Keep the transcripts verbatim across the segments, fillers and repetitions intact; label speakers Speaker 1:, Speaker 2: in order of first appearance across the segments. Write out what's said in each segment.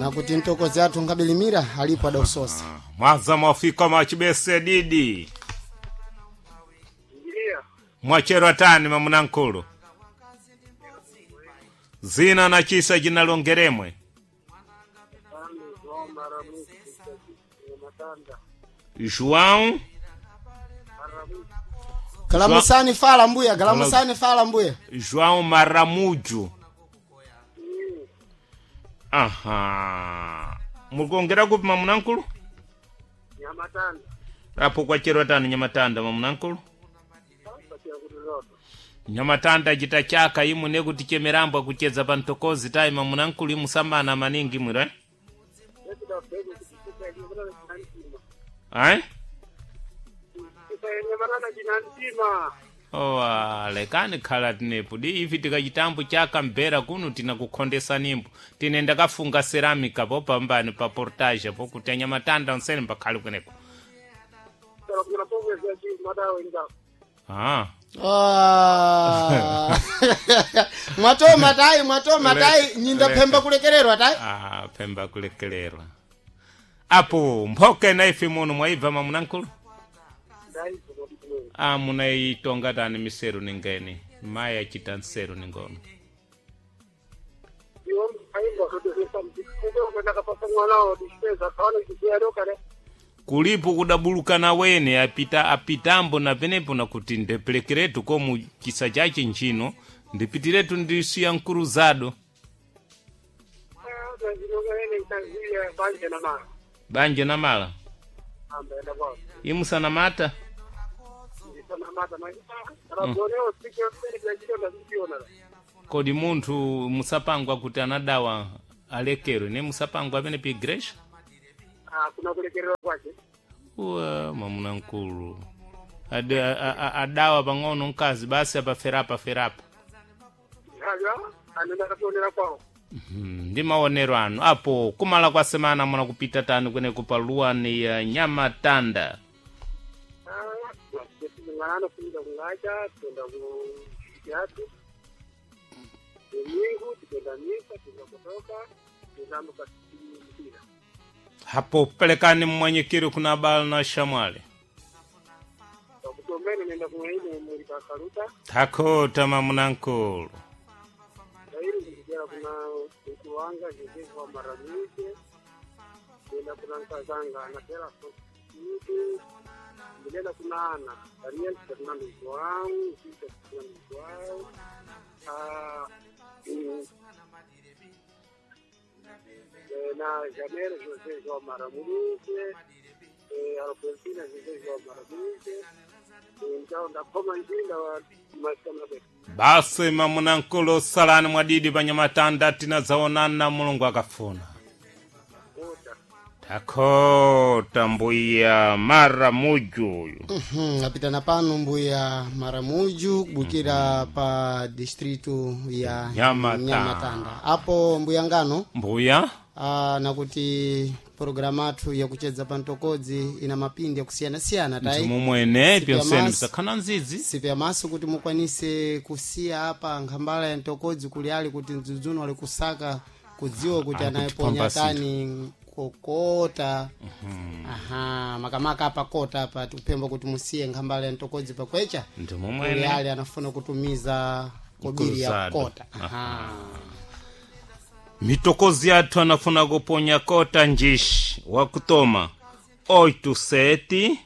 Speaker 1: Na kuti mtokozi athu nkabilimira alipo adausosa.
Speaker 2: Mwaza mwafika mwachibese didi.
Speaker 3: Ndiya.
Speaker 2: Mwachero tani mamunankulu. Zina na chisa jinalongeremwe.
Speaker 3: Tano João Maramuzi Matanda.
Speaker 2: João
Speaker 3: Maramuzi.
Speaker 1: Kalamusani fala mbuya, kalamusani fala mbuya.
Speaker 2: João Maramujo. Aha. Mukongera kupi mamunankulu?
Speaker 3: Nyamatanda.
Speaker 2: Apo kwachero tani nyamatanda mamunankulu.
Speaker 3: Patia kuliloto.
Speaker 2: Nyamatanda chita chaka imwe nekuti chemerambwa kucheza pa ntokozi tayi mamunankulu imusamana maningi mwira.
Speaker 3: Yesu da pego kutuka yenye chinantima.
Speaker 2: Ai?
Speaker 3: Kutuka yenye marana chinantima.
Speaker 2: Owa, lekani khala tinepo di ivi tikachitambo chaka mbera kuno tinakukhondesa nimbo tine ndakafunga ceramica po pambani pa portage po kuti anyamatanda onsene mbakhale kweneko.
Speaker 3: Sala kuna pomwe za chi madawo inga.
Speaker 2: Ah.
Speaker 1: Ah. Mwatoma tayi, mwatoma tayi, nyinda
Speaker 2: Leka.
Speaker 1: phemba kulekererwa tayi.
Speaker 2: Ah, phemba kulekelerwa. Apo mphoka ina ife muno mwaibva mamunankulu?
Speaker 3: Ndai kuno.
Speaker 2: Ah, munaitonga tani miseru ningeni. Mayi achita nseru ningono.
Speaker 3: Iwo aimba kudurisa mtikube ukataka pasa mwana wa dishpeza kaona kisiaro kale.
Speaker 2: Kulipo kudabulukana wene apita apitambo na penepo nakuti ndepelekeretu komu chisa chache nchino ndipitiretu ndisiya nkuruzado
Speaker 3: Ah, ndinonga ene ntanzia banje na mara.
Speaker 2: banje na mala
Speaker 3: Amba enda kwa.
Speaker 2: imusanamata
Speaker 3: Ndisana mata na. Raboneo sikyo sikyo chito na na.
Speaker 2: kodi munthu musapangwa kuti anadawa alekerwe ne musapangwa amene pa igreja?
Speaker 3: Ah, kuna kulekererwa kwake.
Speaker 2: Uwa mwamuna mkulu Ade, a, a, adawa pang'ono mkazi basi apaferapa ferapa.
Speaker 3: Halwa anenda katonera kwao.
Speaker 2: Hmm, ndi maonero anu apo kumala kwa semana muna kupita tani kweneko pa luwani ya nyamatanda.
Speaker 3: Ah, ngana funda kungacha tenda ku yatu. Domingo tenda misa tenda kutoka tenda mpira.
Speaker 2: Hapo pelekani mmwanyikiri kuna bala na shamwali.
Speaker 3: Kutomene nenda kuine muri pakaruta.
Speaker 2: Takota mamunankulu.
Speaker 3: Dairi ndikera kuna kuwanga Joseph wa Maramuze. Nenda kuna Nkazanga na tela Mtu ndinenda kuna Ana Daniel Fernando João, Cíntia Fernando João, ah, mm, eh, na Janeiro José João Maramuze, eh, Albertina José João Maramuze. Então ndakhoma njinda wa masikana betu.
Speaker 2: Basi mamunankulu salani mwadidi pa nyamatanda tinadzaonana mulungu akafuna.
Speaker 3: Ota.
Speaker 2: Takota mbuya Maramujo uyu.
Speaker 1: Mhm, apitana pano mbuya Maramuju kubukira pa distritu ya
Speaker 2: Nyamatanda.
Speaker 1: Nyamatanda. Apo mbuya ngano
Speaker 2: Mbuya
Speaker 1: ah, nakuti programu athu yakuchedza pa mtokodzi ina mapindi yakusiyana-siyana tayi
Speaker 2: mumwene
Speaker 1: Sipi ya
Speaker 2: pyonsene
Speaker 1: masi.
Speaker 2: msakhana nzizi.
Speaker 1: sipi maso kuti mukwanise kusiya apa nkhambala ya mtokodzi kuli ali kuti mdzudzuno ali kusaka kudziwa kuti
Speaker 2: Ali
Speaker 1: anayeponya
Speaker 2: kutipamba
Speaker 1: tani kokota. Aha, makamaka apa kota apa tikupemba kuti musiye nkhambala ya mtokodzi pakwecha
Speaker 2: Ndi
Speaker 1: kuli
Speaker 2: mumwene.
Speaker 1: ali anafuna kutumiza kobiri ya
Speaker 2: Mkuruzado.
Speaker 1: kota. Aha.
Speaker 2: Mitokozi yathu anafuna kuponya kota njishi wakutoma oito sete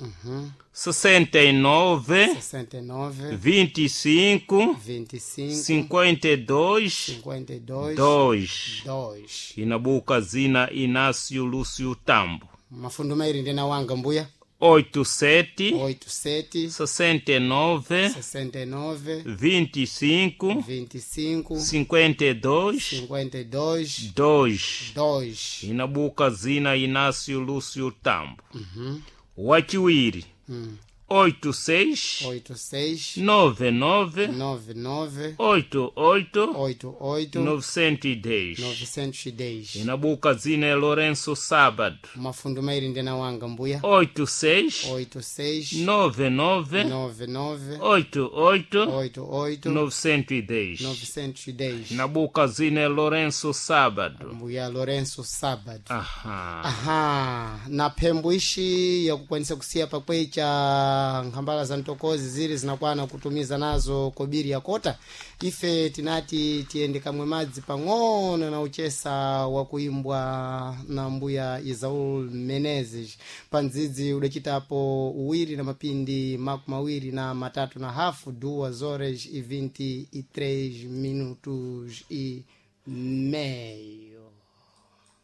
Speaker 2: sessenta e nove
Speaker 1: sessenta e nove
Speaker 2: vinte e cinco
Speaker 1: vinte e cinco
Speaker 2: cinquenta e dois
Speaker 1: cinquenta e dois
Speaker 2: dois.
Speaker 1: dois.
Speaker 2: Inabuka zina Inácio Lúcio Tambo.
Speaker 1: Mafundo mairi ndina wanga mbuya.
Speaker 2: Oito sete
Speaker 1: oito sete
Speaker 2: sessenta e nove
Speaker 1: sessenta e nove
Speaker 2: vinte e cinco
Speaker 1: vinte e cinco
Speaker 2: cinquenta e dois
Speaker 1: cinquenta e dois
Speaker 2: dois.
Speaker 1: dois.
Speaker 2: Inabuka zina Inácio Lúcio Tambo. Wachiwiri
Speaker 1: Hum.
Speaker 2: oito seis
Speaker 1: oito seis
Speaker 2: nove nove
Speaker 1: nove nove
Speaker 2: oito oito
Speaker 1: oito oito
Speaker 2: novecentos e dez.
Speaker 1: novecentos e dez.
Speaker 2: Inabuka dzina ya Lourenço Sábado.
Speaker 1: Mafundo mairi ndena wanga mbuya.
Speaker 2: Oito seis
Speaker 1: oito seis
Speaker 2: nove nove
Speaker 1: nove nove
Speaker 2: oito oito
Speaker 1: oito oito
Speaker 2: novecentos e dez.
Speaker 1: novecentos e dez.
Speaker 2: Inabuka dzina ya Lourenço Sábado.
Speaker 1: Mbuya Lourenço Sábado.
Speaker 2: Aha.
Speaker 1: Aha, na phembo ixi yakukwanisa kusiya pakwecha nkhambala za mtokozi zili zinakwana kutumiza nazo kobiri ya kota. Ife tinati tiyende kamwe madzi pang'ono na uchesa wakuimbwa na mbuya Isaul Menezes pandzidzi udachitapo uwiri na mapindi makumi mawiri na matatu na hafu, duas horas e vinte e três minutos e meio.